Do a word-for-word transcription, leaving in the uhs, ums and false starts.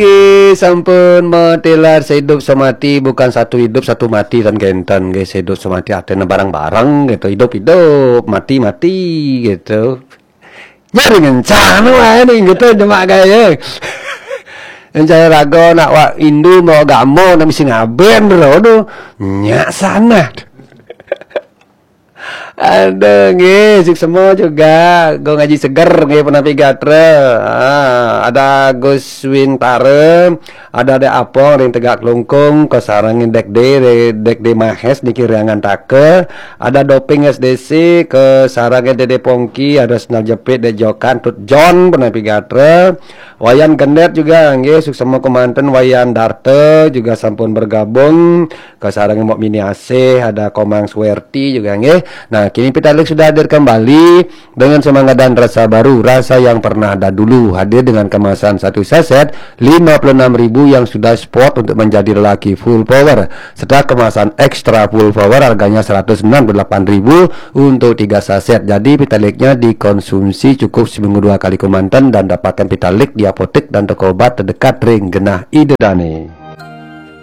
Oke, sampun matilar seidup semati, bukan satu hidup satu mati tan kenten nggih, seidup semati artinya bareng-bareng gitu, hidup-hidup, mati-mati gitu. Nyari ngencan wae nih gitu, demak gaya. Ngencan rago nak wak indu mau gamo nak mesti ngaben bro, aduh, nyak sana. Aduh, nggih, suksma juga. Go ngaji seger nggih, punapi gatra. Ah, ada Gus Wintara, ada Dek Apong ring Tegak Klungkung, kasarengin Dek D, Dek D Mahes niki ring Angantaka, ada Doping S D C, kasarengin Dede Pongki, ada Sendal Jepit, Dek Jokan, Tut John, punapi gatra. Wayan Gendet juga nggih, suksma kemanten. Wayan Darta juga sampun bergabung. Kasarengin Mbok Mini Asih, ada Komang Suwerti juga nggih. Nah, kini Pitalik sudah hadir kembali dengan semangat dan rasa baru, rasa yang pernah ada dulu. Hadir dengan kemasan satu saset lima puluh enam ribu yang sudah sport untuk menjadi lelaki full power, serta kemasan extra full power harganya seratus enam puluh delapan ribu untuk tiga saset. Jadi Pitaliknya dikonsumsi cukup seminggu dua kali kemanten dan dapatkan Pitalik di apotek dan toko obat terdekat ring genah Ida Dane.